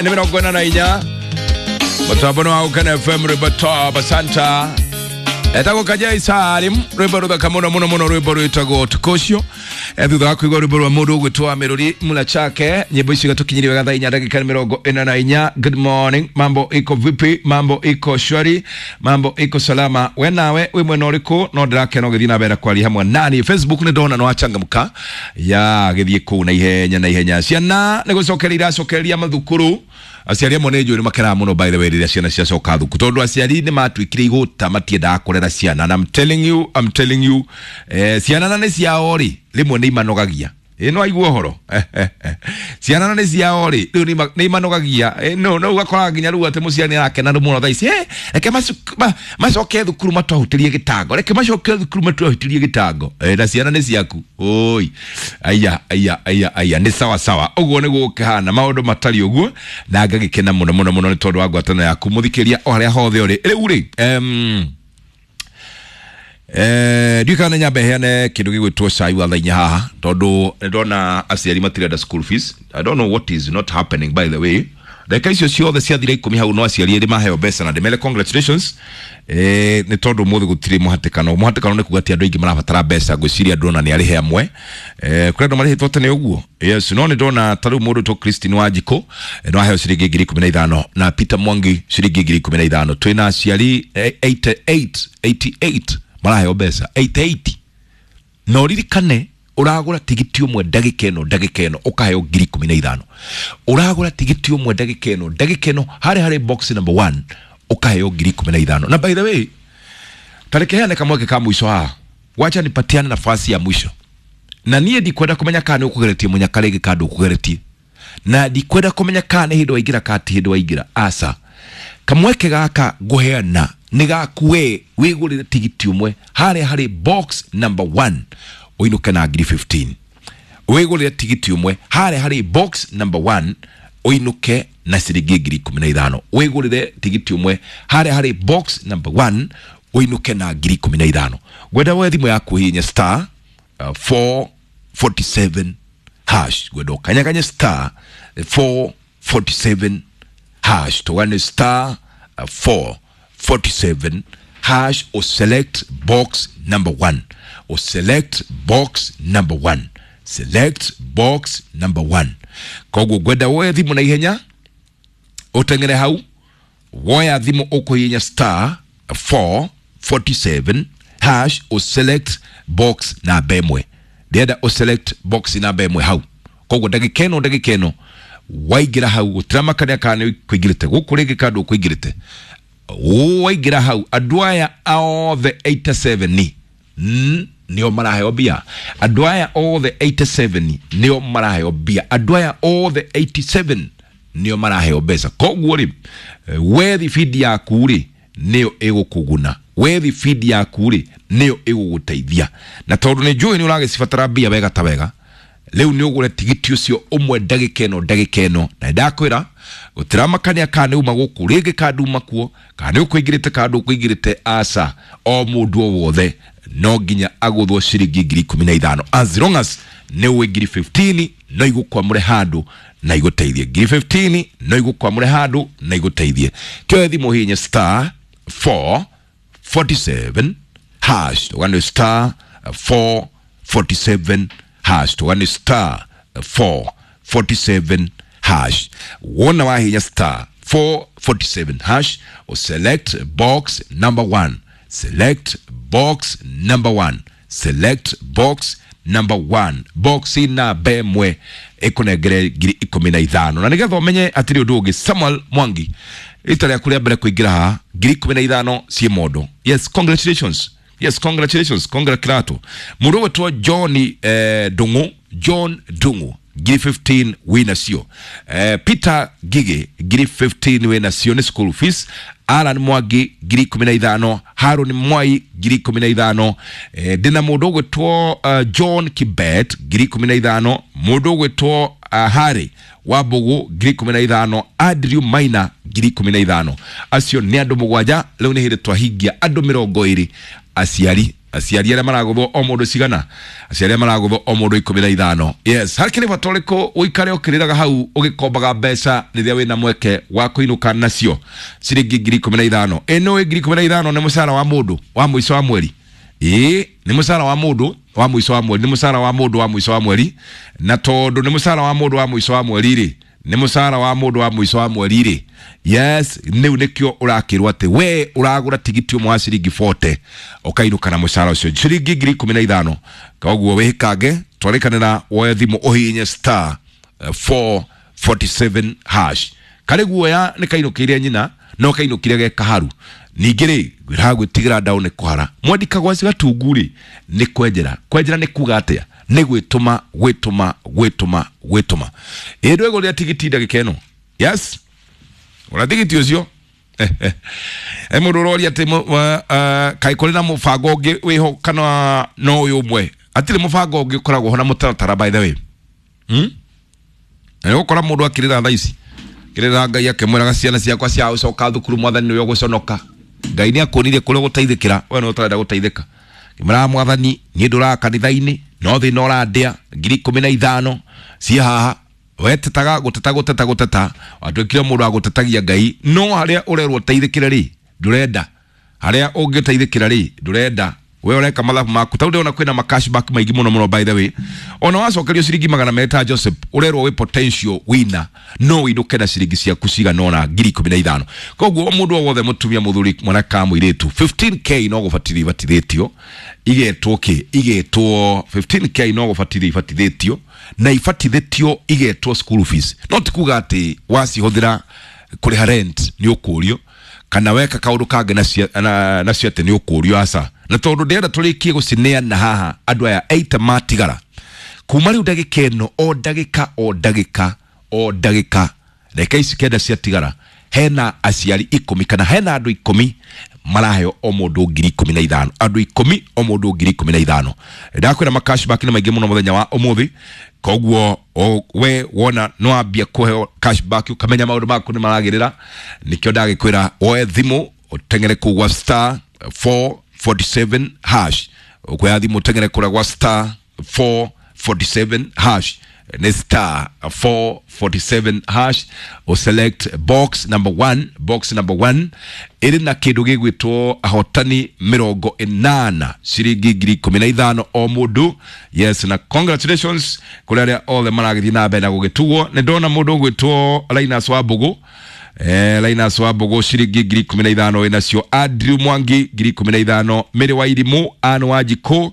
Nĩ 44 mũtambo nĩ wa Gũkena FM, rwĩmbo top. Asanta. Etagwo Kajai Salim, rwĩmbo rũthaka mũno mũno mũno, rwĩmbo rwĩtagwo ũtukũ ũcio. Thutha wa kũigua rwĩmbo rwa mũndũ ũgwĩtwo Mĩrũri Mula Chake, nyĩmbo icio igatũkinyĩria wega thaa 4 ndagĩka 44. Good morning, mambo iko vipi? Mambo iko shwari, mambo iko salama. We nawe wĩ mwena ũrĩkũ? No ndĩrakena ũgĩthiĩ na mbere kwaria hamwe nani Facebook. Nĩ ndona nĩ wachangamka ya gĩthiĩ kũu na ihenya na ihenya. Ciana nĩ gũcokeria iracokeria mathukuru. Aciari amwe nĩ njũĩ nĩ makenaga mũno, by the way, rĩrĩa ciana ciacoka thukuru, tondũ aciari nĩ matuĩkire igũta, matiendaga kũrera ciana. And I'm telling you, I'm telling you, ciana na nĩ ciao rĩ, rĩmwe nĩ imanogagia. Ĩ no aigua ũhoro, ciana na nĩ ciao rĩ, rĩu nĩ imanogagia. No ũgakoraga nginya rĩu atĩ mũciari nĩ arakena mũno thaa ici, reke macoke thukuru matwahutĩrie gĩtango, reke macoke thukuru matwahutĩrie gĩtango. Na ciana nĩ ciaku. Oi aya aya aya aya, nĩ sawa sawa, ũguo nĩguo gũkĩhana, maũndũ matariĩ ũguo, na ngagĩkena mũno mũno mũno nĩ tondũ wa ngwatanĩro yaku, mũthikĩria, o harĩa hothe ũrĩ rĩu rĩ. Ndiũĩ kana nĩ nyambe heane kĩndũ gĩgwĩtwo cai wa thaa 4 haha, tondũ nĩ ndona aciari matirenda school fees. I don't know what is not happening, by the way. Ndagĩka icio ciothe ciathira 10 hau, no aciari erĩ maheo mbeca, na ndĩmere congratulations, nĩ tondũ ũmũthĩ gũtirĩ mũhatĩkano. Mũhatĩkano nĩ kuga ti andũ aingĩ marabatara mbeca. Ngwĩciria ndona nĩ arĩhe amwe, kũrĩ andũ marĩhĩtwo tene ũguo. Yes, no nĩ ndona ta rĩu mũndũ to Christine Wanjikũ, no aheo ciringi 15,000, na Peter Mwangi ciringi 15,000. Twĩna aciari 88 88 maraheo mbeca 88. Na ũririkane, ũragũra tigiti ũmwe ndagĩka ĩno, ndagĩka ĩno ũkaheo 15,000. Ũragũra tigiti ũmwe ndagĩka ĩno, ndagĩka ĩno, harĩ box number 1 ũkaheo 15,000. Na by the way, tareke heane kamweke ka mũico haha. Wacha nipatiane nafasi ya mwisho, na niĩ ndikwenda kũmenya kana nĩ ũkũgeretie mũnyaka rĩngĩ kana ndũkũgeretie, na ndikwenda kũmenya kana nĩ hĩndĩ waingĩra kana ti hĩndĩ waingĩra. Aca, kamweke gaka ngũheana nĩ gaku we wĩgũrĩre tigiti ũmwe harĩa harĩ box number 1 ũinũke na ngiri 15. Wĩgũrĩre tigiti ũmwe harĩa harĩ box number 1 ũinũke na ciringi 15,000. Wĩgũrĩre tigiti ũmwe harĩa harĩ box number 1 ũinũke na 15,000. Ngwenda woe thimũ yaku, hihinya star 447 hash. Ngwenda ũkanyaganye star 447 hash, tũgane star 447 hash, o select box number 1, o select box number 1, select box number 1. Koguo ngwenda woe thimũ na ihenya, ũteng'ere hau, woya thimũ, ũkũhihinya star 447 hash, o select box namba 1. Ndĩrenda o select box namba 1 hau. Koguo ndagĩka ĩno, ndagĩka ĩno waingĩra hau, gũtiramakania kana nĩ kũingĩrĩte gũkũ rĩngĩ kana ndũkũingĩrĩte, waingĩra hau, andũ aya othe 87 nĩo maraheo mbia. Andũ aya othe 87 nĩo maraheo mbia. Andũ aya othe 87 nĩo maraheo mbeca. Koguo rĩ, we thibindi yaku rĩ nĩyo ĩgũkũguna, we thibindi yaku rĩ nĩyo ĩgũgũteithia, na tondũ nĩ njũĩ nĩ ũragĩcibatara mbia wega ta wega, rĩu nĩ ũgũre tigiti ũcio ũmwe ndagĩka ĩno, ndagĩka ĩno. Na ndakwĩra gũtiramakania kana nĩ uma gũkũ rĩngĩ kana nduma kuo, kana nĩ ũkũingĩrĩte kana ndũkũingĩrĩte. Aca, o mũndũ o wothe no nginya agũthwo ciringi 15,000. As long as nĩ ũĩ ngiri 15 no igũkwamũre handũ na igũteithie, ngiri 15 no igũkwamũre handũ na igũteithie. Kĩoe thimũ, hihinya star 447 hash, tũgane star 447 hash, tũgane star 447 hash. Wona wahinya star 447 hash, o select box number 1, select box number 1, select box number 1, box namba 1 ĩkũnengere 15,000. Na nĩgetha ũmenye atĩrĩ, ũndũ ũngĩ, Samuel Mwangi, rita rĩaku rĩa mbere kũingĩra haha, 15,000 ciĩ mondo. Yes, congratulations. Yes, congratulations, congratulato. Mũndũ ũgwĩtwo John Ndung'u, John Ndung'u, ngiri 15 wĩ nacio. Peter Gige, ngiri 15 wĩ nacio, nĩ school fees. Alan Mwangi 15,000, Haron Mwai 15,000. Ndĩna mũndũ ũgwĩtwo John Kibet 15,000, mũndũ ũgwĩtwo Harry Wambugu 15,000, Andrew Maina 15,000. Acio nĩ andũ mũgwanja. Rĩu nĩ hĩndĩ twahingia andũ 20 aciari. Aciari arĩa maragũthwo o mũndũ cigana? Aciari arĩa maragũthwo o mũndũ 15. Yes, hakĩrĩ bata ũrĩkũ ũikare ũkĩrĩraga hau ũgĩkombaga mbeca rĩrĩa wĩna mweke wa kũinũka nacio ciringi 15,000? Ĩno 15,000 nĩ mũcara wa mũndũ wa mũico wa mweri. Ĩĩ, nĩ mũcara wa mũndũ wa mũico wa mweri, nĩ mũcara wa mũndũ wa mũico wa mweri. Na tondũ nĩ mũcara wa mũndũ wa mũico wa mweri rĩ, nĩ mũcara wa mũndũ wa mũico wa mweri rĩ, yes, nĩu nĩkĩo ũrakĩrwo atĩ we ũragũra tigiti ũmwe wa ciringi 40 ũkainũka na mũcara ũcio ciringi 15,000. Koguo wĩhĩkange, twarĩkanĩra, woe thimũ ũhihinye star 447 hash. Karĩ guoya nĩ kainũkĩire nyina no kainũkire ge kaharu. Ningĩ rĩ, ngwĩraga gwĩtigĩra ndaũ nĩ kũhara mwendi kagwaci gatungu rĩ, nĩ kwenjera. Kwenjera nĩ kuga atĩa? Nĩ gwĩtũma, gwĩtũma, gwĩtũma, gwĩtũma. Ĩ ndwĩgũrĩra tigiti ndagĩka ĩno? Yes, ũra tigiti ũcio. E mũndũ ũroria atĩ kaĩ kũrĩ na mũbango ũngĩ wĩho kana no ũyũ ũmwe? Hatirĩ mũbango ũngĩ ũkoragwo ho na mũtaratara, by the way. Na nĩgũkora mũndũ akĩrĩra thaa ici, kĩrĩra Ngai akĩmwĩraga, "Ciana ciakwa cia gũcoka thukuru, Mwathani nĩwe ũgũconoka." Ngai nĩ akuonirie kũrĩa ũgũteithĩkĩra, we nĩ ũtarenda gũteithĩka. Kĩmwĩraga Mwathani, "Niĩ ndũraga kanitha-inĩ, no thĩna ũrandĩa, 15,000 ciĩ haha." Wetetaga gũteta, gũteta, gũteta, watuĩkire mũndũ wa gũtetagia Ngai. No harĩa ũrerwo ũteithĩkĩre rĩ, ndũrenda. Harĩa ũngĩteithĩkĩra rĩ, ndũrenda. We ũreka mathabu maku. Tau ndĩrona kwĩna ma cashback maingĩ mũno mũno, by the way. Ona wacokerio ciringi 200 ta Joseph, ũrerwo wĩ potential winner, no ũinũke na ciringi ciaku cigana ũna 15,000. Koguo o mũndũ o wothe, mũtumia, mũthuri, mwanake kana mũirĩtu, 15K no gũbatithio ibatithĩtio, igetwo kĩ? Igetwo 15K no gũbatithio ibatithĩtio, na ibatithĩtio igetwo school fees. No ti kuga atĩ wacihũthĩra kũrĩha rent nĩ ũkũrio, kana weka kaũndũ kangĩ nacio atĩ nĩ ũkũrio, aca. Na tondũ ndĩrenda tũrĩkie gũcineana haha, andũ aya 80 matigara kuma rĩu ndagĩka ĩno, o ndagĩka, o ndagĩka, o ndagĩka, ndagĩka ici 9 ciatigara, hena aciari 10 kana hena andũ 10 maraheo o mũndũ 15,000. Andũ 10, o mũndũ 15,000. Ndakwĩra ma cashback nĩ maingĩ mũno mũthenya wa ũmũthĩ. Koguo we wona nĩ wambia kũheo cashback, ũkamenya maũndũ maku nĩ maragĩrĩra. Nĩkĩo ndagĩkwĩra woe thimũ ũteng'ere kũu gwa star 447 hash. Ũkuoya thimũ ũteng'ere kũrĩa gwa star 447 hash, nĩ star 447 hash, ũselect box number 1. Box number 1 ĩrĩ na kĩndũ gĩgwĩtwo ahotani 80, ciringi 15,000 o mũndũ. Yes, na congratulations kũrĩ arĩa othe maragĩthiĩ na mbere na gũgĩtugwo. Nĩ ndona mũndũ ũgwĩtwo Linus wa Mbũgũ, Linus wa Mbũgũ, ciringi 15,000 wĩnacio. Andrew Mwangi, 15,000. Mary wa Irimũ, Ann wa Njikũ,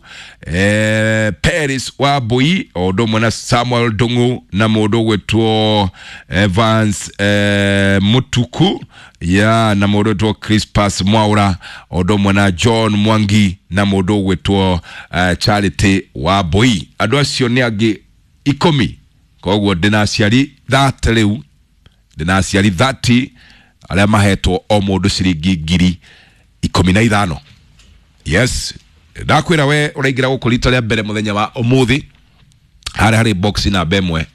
Paris wa Mbui, o ũndũ ũmwe na Samuel Ndung'u na mũndũ ũgwĩtwo Evans Mutuku ya, na mũndũ ũgwĩtwo Crispas Mwaura, o ũndũ ũmwe na John Mwangi na mũndũ ũgwĩtwo Charity wa Mbui. Andũ acio nĩ angĩ 10. Koguo ndĩna aciari 30 rĩu, ndĩna aciari 30 arĩa mahetwo o mũndũ ciringi 15,000. Yes, ndakwĩra we ũraingĩra gũkũ rita rĩa mbere mũthenya wa ũmũthĩ, harĩa harĩ box namba 1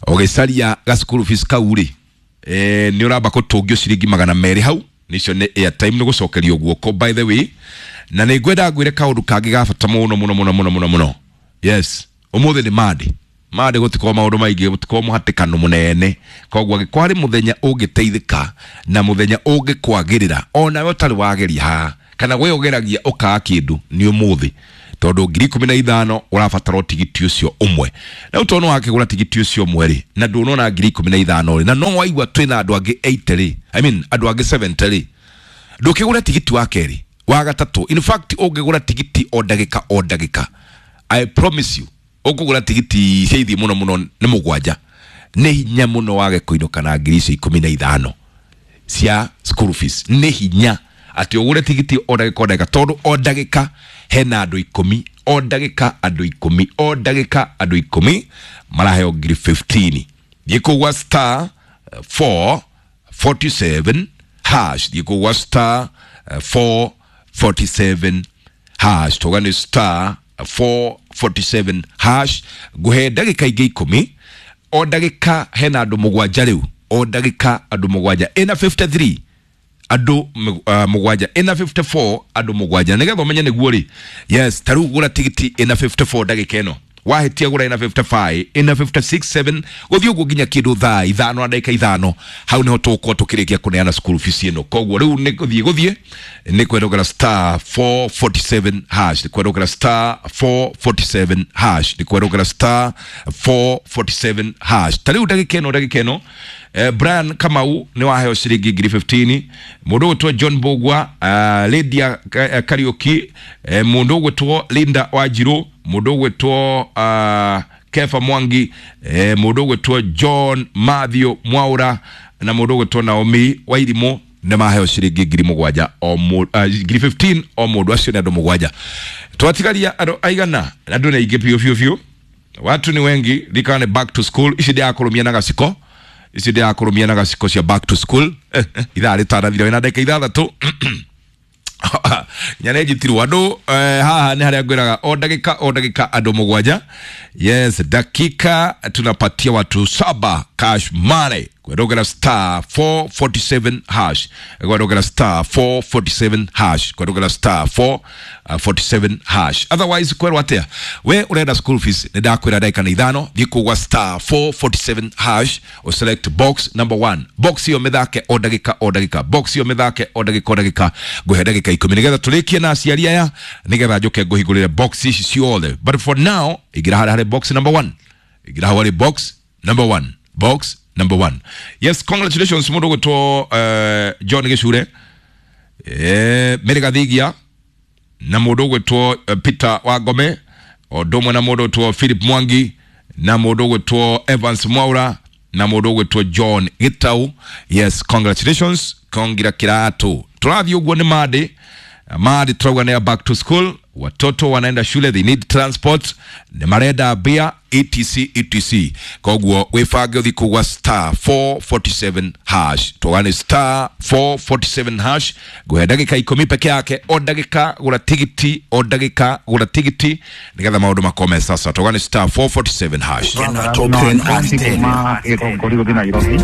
ũgĩcaria ga school fees kau rĩ, nĩ ũramba kũtũngio ciringi 200 hau, nicio nĩ airtime, nĩ gũcokerio guoko, by the way. Na nĩ ngwenda ngwĩre kaũndũ kangĩ ga bata mũno mũno mũno mũno mũno mũno. Yes, ũmũthĩ nĩ Monday. Monday gũtikorwo maũndũ maingĩ, gũtikorwo mũhatĩkano mũnene. Koguo angĩkorwo harĩ mũthenya ũngĩteithĩka na mũthenya ũngĩkwagĩrĩra onawe ũtarĩ wageria haha kana we ũgeragia ũkaga kĩndũ, nĩ ũmũthĩ, tondũ 15,000 ũrabatara o tigiti ũcio ũmwe. Rĩu tondũ nĩ wakĩgũra tigiti ũcio ũmwe rĩ, na ndũnona 15,000 rĩ, na no waigua twĩna andũ angĩ 80 rĩ, I mean andũ angĩ 70 rĩ, ndũkĩgũra tigiti wa kerĩ, wa gatatũ. In fact, ũngĩgũra tigiti o ndagĩka o ndagĩka, I promise you, ũkũgũra tigiti cia ithiĩ mũno mũno nĩ mũgwanja, nĩ hinya mũno wage kũinũka na 15,000 cia school fees. Nĩ hinya atĩ ũgũre tigiti o ndagĩka o ndagĩka, tondũ o ndagĩka hena andũ 10, o ndagĩka andũ 10, o ndagĩka andũ 10 maraheo 15,000. Thiĩ kũu gwa star 447 hash, thiĩ kũu gwa star 447 hash, tuga nĩ star 447 hash. Ngũhe ndagĩka ingĩ 10. O ndagĩka hena andũ mũgwanja rĩu, o ndagĩka andũ mũgwanja. Ĩna 53. Andũ mũgwanja ĩna 54, andũ mũgwanja. Nĩgetha ũmenye nĩguo rĩ, yes, ta rĩu gũra tigiti ĩna 54 ndagĩka ĩno. Wahĩtia gũra ĩna 55, ĩna 56, 7, gũthiĩ ũguo nginya kĩndũ thaa 5:05. Hau nĩho tũgũkorwo tũkĩrĩkia kũneana school fees ĩno. Koguo rĩu nĩ gũthiĩ, gũthiĩ nĩ kwerũgera star 447 hash, nĩ kwerũgera star 447 hash, nĩ kwerũgera star 447 hash. Ta rĩu ndagĩka ĩno, ndagĩka ĩno, Brian Kamau nĩ waheo ciringi ngiri 15, mũndũ ũgwĩtwo John Bogwa, Lydia Kariuki, mũndũ ũgwĩtwo Linda Wanjiru, mũndũ ũgwĩtwo Kefa Mwangi, mũndũ ũgwĩtwo John Mathew Mwaura na mũndũ ũgwĩtwo Naomi Wairimu nĩ maheo ciringi ngiri mũgwanja o ngiri 15 o mũndũ. Acio nĩ andũ mũgwanja. Twatigaria andũ aigana? Andũ nĩ aingĩ biũ biũ biũ, watu ni wengi. Rikana nĩ back to school. Ici ndĩrakũrũmia na gaciko, ici ndĩrakũrũmia na gaciko cia back to school. Ithaa rĩtanathira wĩna ndagĩka 6 nyane njitirwo andũ. Haha nĩ harĩa ngwĩraga o ndagĩka, o ndagĩka andũ mũgwanja. Yes, dakika tunapatia watu saba cash money kwerogera star 447 hash, kwerogera star 447 hash, kwerogera star 447 hash. Otherwise kwerwo atia? We urenda school fees, nĩ ndakwĩra ndagĩka nĩ 5. Thiĩ kũgwa star 447 hash, select box number 1. Box iyo mĩthake o ndagĩka, o ndagĩka. Box iyo mĩthake o ndagĩka, o ndagĩka. Ngũhe ndagĩka 10 nĩgetha tũrĩkie na aciari aya, nĩgetha njũke ngũhingũrĩre box ici ciothe. But for now ingĩra harĩa harĩ box number 1, ingĩra hau harĩ box number 1, box number 1. Yes, congratulations mũndũ ũgwĩtwo John Gĩcure, Mary Gathigia na mũndũ ũgwĩtwo Peter Wangome, o ũndũ ũmwe na mũndũ ũgwĩtwo Philip Mwangi na mũndũ ũgwĩtwo Evans Mwaura na mũndũ ũgwĩtwo John Gitau. Yes, congratulations, kongira kiratũ. Tũrathiĩ ũguo nĩ Monday. Monday turauga nĩ ya back to school, watoto wanaenda shule, they need transport, nĩ marenda mbia, etc etc. Koguo wĩbange ũthiĩ kũgwa star 447 hash. Tũgane star 447 hash. Ngũhe ndagĩka 10 peke yake. O ndagĩka gũra tigiti, o ndagĩka gũra tigiti nĩgetha maũndũ makome. Sasa tũgane star 447 hash. Top 10 at 10. Kuma Gĩkũngũri gũthiĩ Nairobi.